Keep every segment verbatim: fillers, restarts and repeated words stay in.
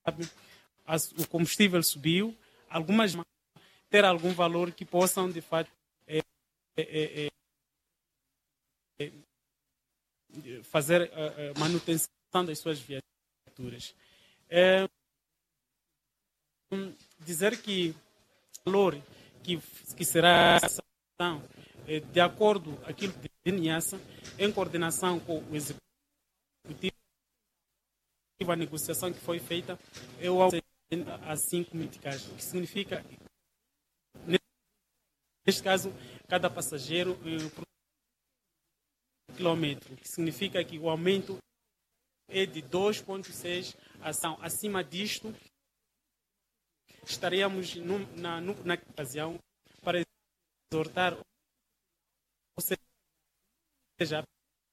sabe, as- o combustível subiu, algumas ter algum valor que possam de fato é, é, é, é, fazer é, é, manutenção das suas viaturas. É, hum, dizer que o valor que, que será é, de acordo com aquilo que tem em coordenação com o executivo, a negociação que foi feita é o aumento a cinco meticais, o que significa, neste caso, cada passageiro é, por quilômetro, o que significa que o aumento é de dois ponto seis ação. Acima disto, estaríamos num- na, nu- na ocasião para exortar, ou seja,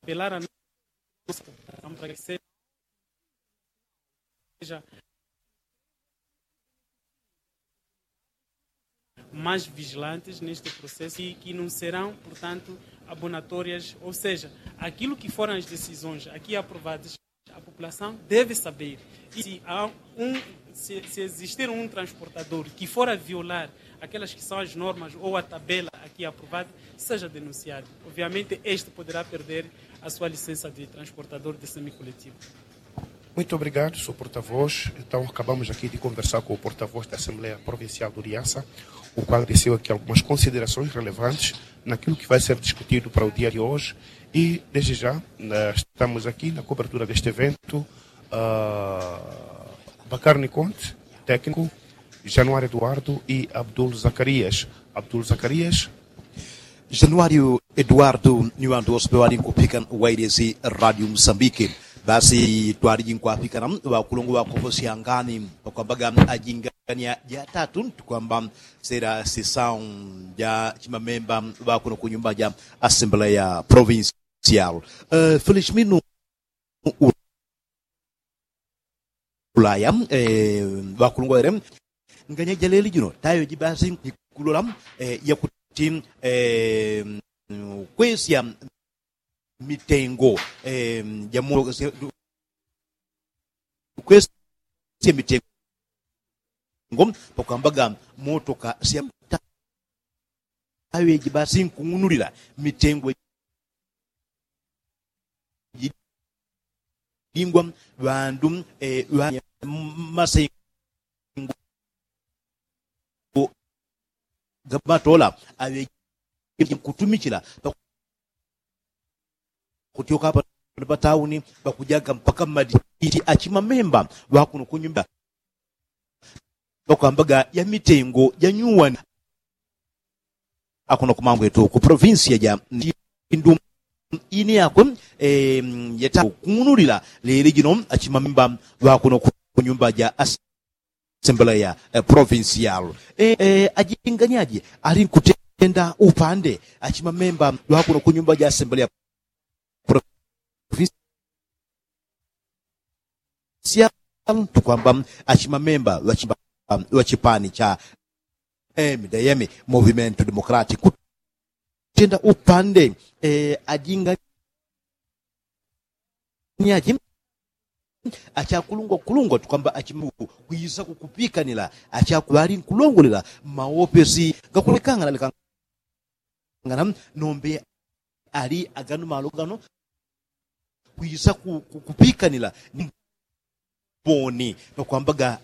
apelar a nossa população para que seja mais vigilantes neste processo e que não serão, portanto, abonatórias, ou seja, aquilo que foram as decisões aqui aprovadas, a população deve saber. E se, há um, se, se existir um transportador que for a violar aquelas que são as normas ou a tabela aqui aprovada, seja denunciado. Obviamente, este poderá perder a sua licença de transportador de semicoletivo. Muito obrigado, senhor porta-voz. Então, acabamos aqui de conversar com o porta-voz da Assembleia Provincial do Niassa, o qual desceu aqui algumas considerações relevantes naquilo que vai ser discutido para o dia de hoje. E, desde já, eh, estamos aqui na cobertura deste evento. Ah, Bacarni Conte, técnico, Januário Eduardo e Abdul Zacarias. Abdul Zacarias. Januário Eduardo, ni ŵandu wose ŵaŵali nkupikana wailesi Radio Msambiki. Basi twaliji nkwapikana ŵakulungwa ŵakoposyangani pakwambaga ajingania jatatu tukwamba sera sisau ja chimamemba ŵakuno kunyumba ja Assembleya Provincial. Felishminu ulaya ŵakulungwa ŵele nganya jaleli jino tayo jibasi nikulola yakuti kwesya mitengo jamo kwesya mitengo pakwambaga motoka sya tayo jibasi nkung'unulila mitengo jilingwa ŵandu ŵa masengo gamatola aŵe kutumichila pakutyoka pano patauni pakujaga mpaka mmaditi achimamemba ŵakuno kunyumba pakwambaga ya mitengo janyuwani akuno kumambwetu ku provinsia ja ndu ini yakwe yeta kung'unulila leli jino achimamemba ŵakuno kunyumba ja assembleya provincial. Ajinganyaji ali nkutenda upande achimamemba ŵakuno kunyumba ja assembleya provincial tukwamba achimamemba ŵa chipani cha mdm movimento democratic kutenda upande ajinganyaji achakulungwa kulungwa tukwamba achimaku kwisa kukupikanila achakuŵali nkulongolela mmaopesi gakulekangana lekangana nombe ali agano malo gano kwisa kupikanila ni mboni pakwambaga